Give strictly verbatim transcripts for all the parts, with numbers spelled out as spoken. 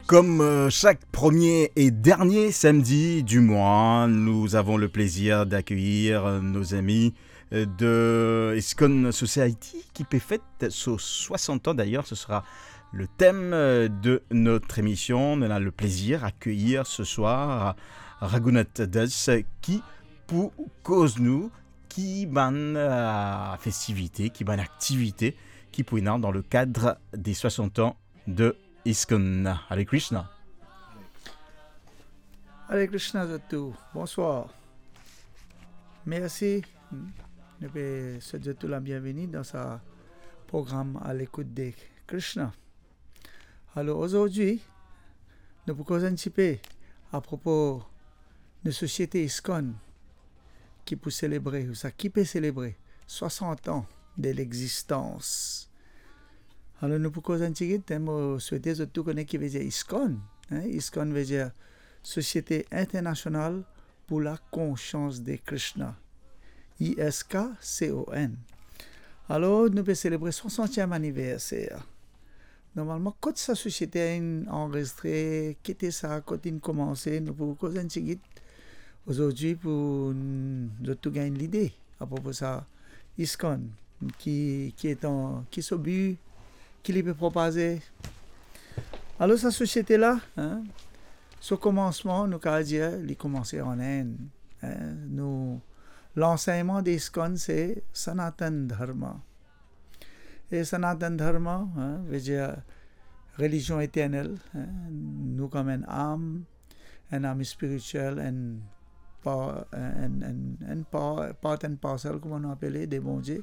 Comme euh, chaque premier et dernier samedi du mois, nous avons le plaisir d'accueillir euh, nos amis euh, de ISKCON Society qui peut fête sur soixante ans. D'ailleurs, ce sera le thème euh, de notre émission. On a le plaisir d'accueillir ce soir Raghunath Das qui, pour cause nous, qui bann euh, festivité, qui bann activité, qui pour dans le cadre des soixante ans de ISKCON. Hare Krishna. Hare Krishna zot tou. Bonswar. Mersi. Nou pe swet zot tou la bienveni dan sa program A Lekout de Krishna. Alor, azordi, nou pou koz enn tipe apropo nou sosiete ISKCON ki pou selebre, ou sa ki pe selebre swasant an de lexistans. Alor, nou pou koz enn tigit, mo swete zot tou kone ki vedir ISKCON. Hein? ISKCON vedir Société Internationale pour la Conscience de Krishna. I S K C O N. Alor, nou pe selebre swasantiem aniverser. Normalman, kot sa sosiete inn anrezistre, ki ete sa, kot inn koumanse, nou pou koz enn tigit. Azordi, pou n-, zot tou gagn lide apropo sa ISKCON, ki, ki etan, ki so bi, ki li pe propaze. Alor, sa sosiete la, hein, so koumansman, nou kapav dir, li koumanse an Inn, hein. Nou, lansegnman de ISKCON, se Sanatan Dharma. E Sanatan Dharma, hein, vedir relizion eternel, hein, nou kom enn am, enn am spiritiel, enn pa-, enn, enn, enn pa-, part and parcel, kouma nou apele, de Bondie.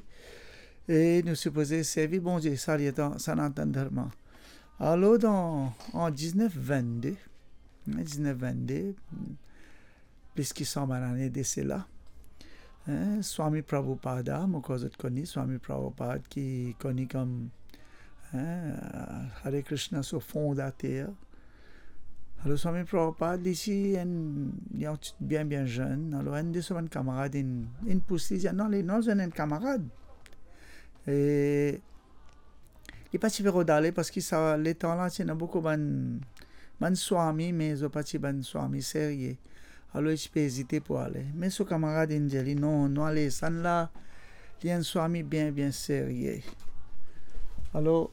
E nou sipoze servi Bondie, sa li etan Sanatan Dharma. Alor, dan, an diznef vennde, hein, diznef vennde, plis ki san bann lane de sela, hein, Swami Prabhupada, mo krwar zot kone, Swami Prabhupada ki koni kom, hein, Hare Krishna so fondater. Alor, Swami Prabhupada, li ti enn, li enn ti bien, bien zenn. Alor, enn de so bann kamarad inn, inn pous li, dir, "Non, ale, nou al zwenn enn kamarad." E li pa ti pe rod ale, parski sa letan la, ti ena boukou bann, bann swami, me zot pa ti bann swami serye. Alor, li ti pe ezite pou ale. Me so kamarad inn dir li, "Non, nou ale, sannla, li enn swami bien, bien serye." Alor,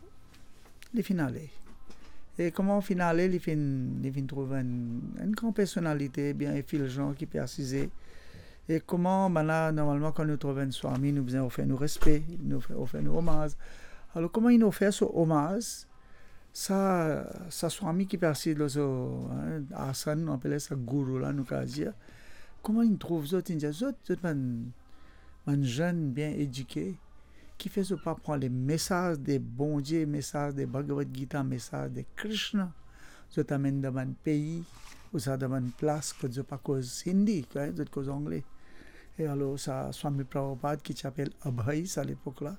li finn ale. E kouma finn ale, li finn, li finn trouv enn, enn gran personalite, bien efilzan, ki pe asize. E kouma, bann la, normalman, kan nou trouv enn swami, nou bizin ofer nou respe, nou fe-, ofer nou omaz. Alor, kouma inn ofer so omaz, sa, sa swami ki pe asiz lor so, hein, asan, nou apel sa gourou la, nou kapav dir, kouma inn trouv zot, inn dir, "Zot, zot bann, bann zenn bien edike, kifer zot pa pran lemesaz de Bondie, mesaz de Bhagavad Gita, mesaz de Krishna, zot amenn dan bann pei, ouswa dan bann plas kot zot pa koz Hindi, hein, zot koz Angle?" E alor, sa Swami Prabhupada ki ti apel Abhay sa lepok la,